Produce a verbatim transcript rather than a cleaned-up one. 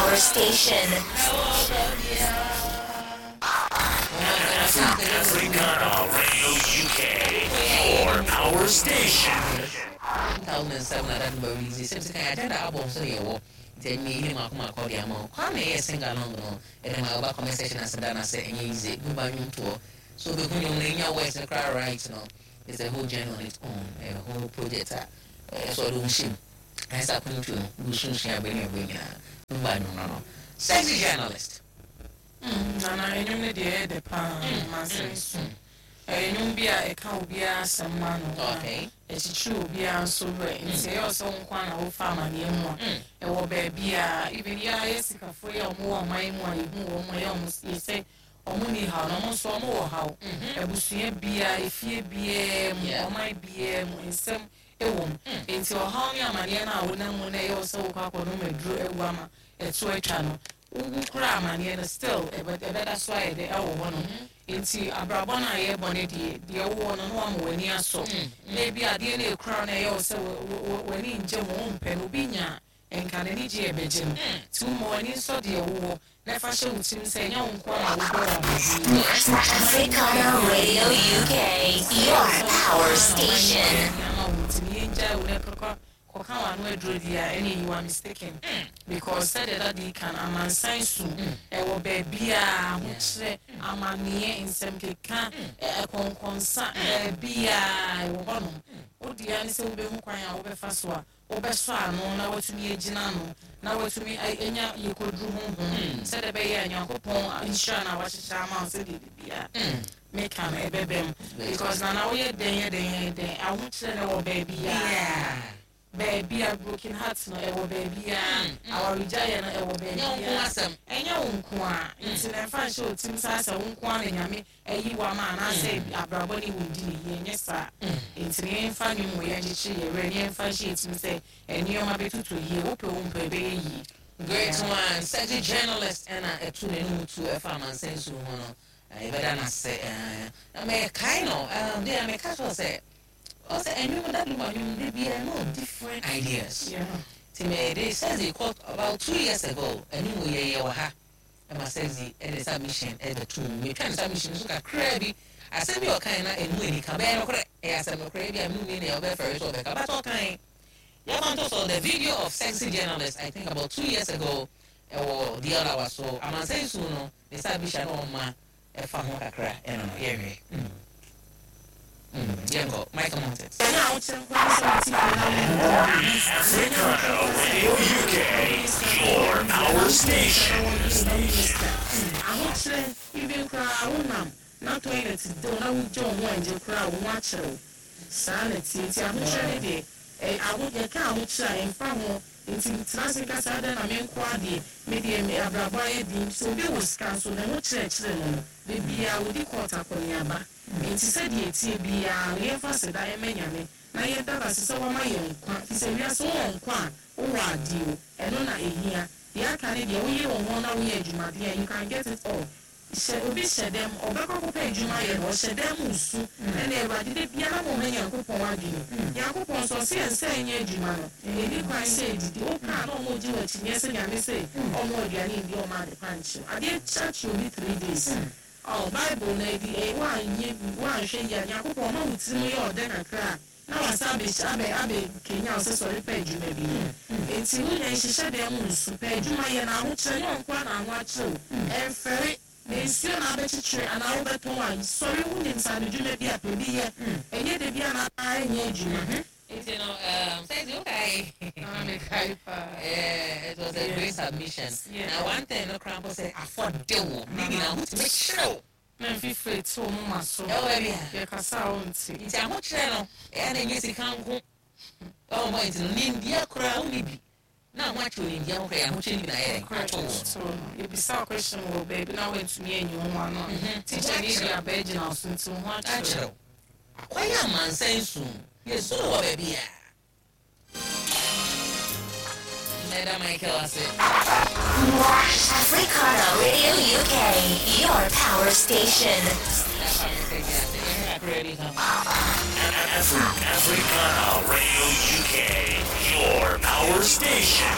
power station. Africana Radio U K, your power station. two thousand seven na that release sɛ sɛ kan agenda album so ne yɛwɔ nti ɛnyɛ yi ne mako mako de ama wo. Kwame yɛ sing along no, ɛde ma woba comment section ase da na sɛ ɛnyɛ easy. Lumba nnwomtoɔ so wobɛhu nnwom no ɛnya words no koraa right no, it's a whole journey on its own, a whole project a ɛsɛ ɔde wo hyɛ mu ayɛ sɛ akontuo no wosunsua abɛ ne ɛbɛ nyinaa. Lumba nnwom no no Sexy Journalist. Nana, ɛnwom no deɛ, ɛyɛ dɛ paa. Mansɛm so ɛyɛ nnwom bi a ɛka obiara asɛm ma no, okay ɛkyekyere obiara nso werɛ, nti ɛyɛ ɔsɛ wo nko a na wofa amanneɛ mu a ɛwɔ baabi a even yɛ ayɛ sikafoɔ yi a ɔmo wɔ ɔman mu a yɛhu wɔn a ɛyɛ ɔmo yɛ sɛ ɔmo ni haw na ɔmo nso ɔmo wɔ haw. Abusua biara, efie biara mu, Yeah. ɔman biara mu, nsɛm ɛwɔ mu, nti ɔhaw ne amanneɛ no a wonam mu no, ɛyɛ wo sɛ wokɔ akɔnom aduro awu ama ɛto atwa no, wowu kora amanneɛ no still ɛbɛ- ɛbɛda so ayɛ dɛ ɛwɔ hɔ no. Nti abrabɔ no a yɛbɔ no deɛ, deɛ wowɔ no no wama w'ani asɔ, na ebi adeɛ no ekura no, ɛyɛ wo sɛ wo- wo- wo- w'ani ngye ho, wompɛ no, obi nya nka n'ani gye ɛbɛgye no, nti woma w'ani nsɔ deɛ wowɔ na ɛfa hyɛ wo tirim sɛ ɛnyɛ wo nko a na wobɔ wɔ amanneɛ. Africana Radio U K, your power station. Ama wo nti ne yɛngyae wo na kɔkɔ kɔka w'ano aduro di a, ɛne you are mistaken, because sɛdeɛ dade kan amansan su ɛwɔ baabi a ahokyerɛ, amanneɛ, nsɛm keka, ɛ- ɛkɔnkɔnsa baabi a ɛwɔ hɔnom. Wodeɛ ne sɛ wobɛhu kwan a wobɛfa so a wobɛsɔ ano na watumi agyina ano na watumi a- anya yɛkɔduru honhom sɛdeɛ ɛbɛyɛ a Nyankopɔn nhyira no a wahyehyɛ ama wo sɛdeɛ bibia meka no ɛbɛbɛ mu, because nana, woyɛ dɛn yɛ dɛn yɛ dɛn, ahokyerɛ no wɔ baabi a baabi a broken heart no ɛwɔ baabi a awaregyaeɛ no ɛwɔ ɛnyɛ wo baabi nko a asɛm. Ɛnyɛ wo nko a, nti na ɛmfa nhyɛ otim saa sɛ wo nko a na Nyame ayi wo ama anaasɛ abrabɔ ne wo ndi ne yie. Ɛnyɛ saa. Nti ne yɛmfa nnwom wɔ yɛnkyekyere yɛ werɛ ne yɛmfa nhyɛ yɛtim sɛ ɛnneɔma bɛtotɔ yie. Wopɛ wo mpɛ, ɛbɛyɛ yie. Great one, Sexy Journalist. Ɛna ɛtu n'anum tu ɛfa amansan su ho no, eh, yɛbɛda n'ase. eh, na mɛkae no um, deɛ mɛka kyerɛ sɛ ɔsɛ ɛnwom da Lumba nnwom de biara no different ideas. Yeah. Nti mɛde Sexy kɔ about two years ago, ɛnwom yɛ yɛ wɔ ha ɛma Sexy ɛde submission ɛbɛto mu. Metwa ne submission so kakraa bi, asɛm bi a ɔkae na ɛmu anika bɛyɛ nokorɛ, ɛyɛ asɛm nokorɛ bi a menu mi na ɔbɛfɛre so ɔbɛka, but ɔkae yɛfa nto so. The video of Sexy Journalist, I think about two years ago, ɛwɔ D L so amansan su no ne submission na ɔma ɛfa ho kakra. Ɛno no yɛhwɛ. Mm. Mm, yɛnkɔ Michael Mountain. Ɛnyɛ ahokyerɛ nko ara sɛ wote fie na wo Africana Radio U K, your power station. Ahokyerɛ even koraa wonam na toilet de wo na wogye wo ho angye koraa, wo ho akyerɛ wo saa na tie. Nti ahokyerɛ ne deɛ, ɛ aho yɛka ahokyerɛ a ɛmfa ho, nti tena ase nkasa adɛn na menko adeɛ medeɛ me abrabɔ ayɛ din sɛ obi wɔ sika nso ne ho kyerɛkyerɛ no no beebiaa wodi court akɔneaba. Nti sɛdeɛ tie biara no, yɛmfa seda yɛmɛ Nyame na yɛda no ase sɛ wɔma yɛn nkwa, fi sɛ wiase wowɔ nkwa a, wowɔ adeɛ o. Ɛno na ɛhia. Deɛ aka ne deɛ, woyɛ wo ho na woyɛ adwumadeɛ a, you can get it all. Hyɛ obi hyɛ dɛm, ɔbɛkɔ akɔpɛ adwuma yɛ no, ɔhyɛ dɛm nsu. Ɛna Awurade de biara ma ɔma Nyankopɔn adwene. Nyankopɔn nso ɔsɛ yɛn sɛ ɛnyɛ adwuma no ɛni kwan sɛ ɛdidi wokaa na ɔmo gye w'akyi nyɛ sɛ Nyame sɛ ɔmo aduane ndi, ɔmo ade pa nkyew adeɛ kyakye obi three days. Ɔ Bible na edi ɛ woanyɛ woanhwɛ yie a, Nyankopɔn ɔma wo tirim yɛ ɔdɛ kakra a na wasa abɛ abɛ abɛ kenya wo sɛ sɔre pɛ adwuma bi yɛ. Nti wonya nhyehyɛ dɛm mu nsu pɛ adwuma yɛ na ahokyerɛ nyɛ ɔnko a na aho akyerɛ wo ɛmfɛre na nsuo na abɛkyekyere anaa wobɛtɔn a, sɔre, wonim sa no dwuma bi a pɛ bi yɛ, ɛnyɛ de bi anaa ɛnyɛ adwuma. Nti no um, Sexy, okay. Ah, mekae paa. Yeah, it was a great submission. Yeah. Now one thing no kora mpo sɛ afɔde wo ne nyinaa wotumi kyerɛw. Na mfifire te wo moma so. Ɛwɔ baabi a yɛkasa a wonte. Nti ahokyerɛ no ɛyɛ na ɛnyɛ sika nko ɛwɔ mɔ, nti no nimdeɛ koraa wonni bi na ho akyerɛ nimdeɛ ho koraa, ahokyerɛ no bi na ɛyɛ ato wo. So no yɛbisa wo question wɔ baabi na woantumi anyi wo ho ano a, teacher ne de aba agyina wo so, nti wo ho akyerɛw. Akyerɛw akɔyɛ amansan su yɛsu no wɔ baabi a mɛda Michael ase. Africana Radio U K, your power station. Afri- Africana Radio U K, your power station.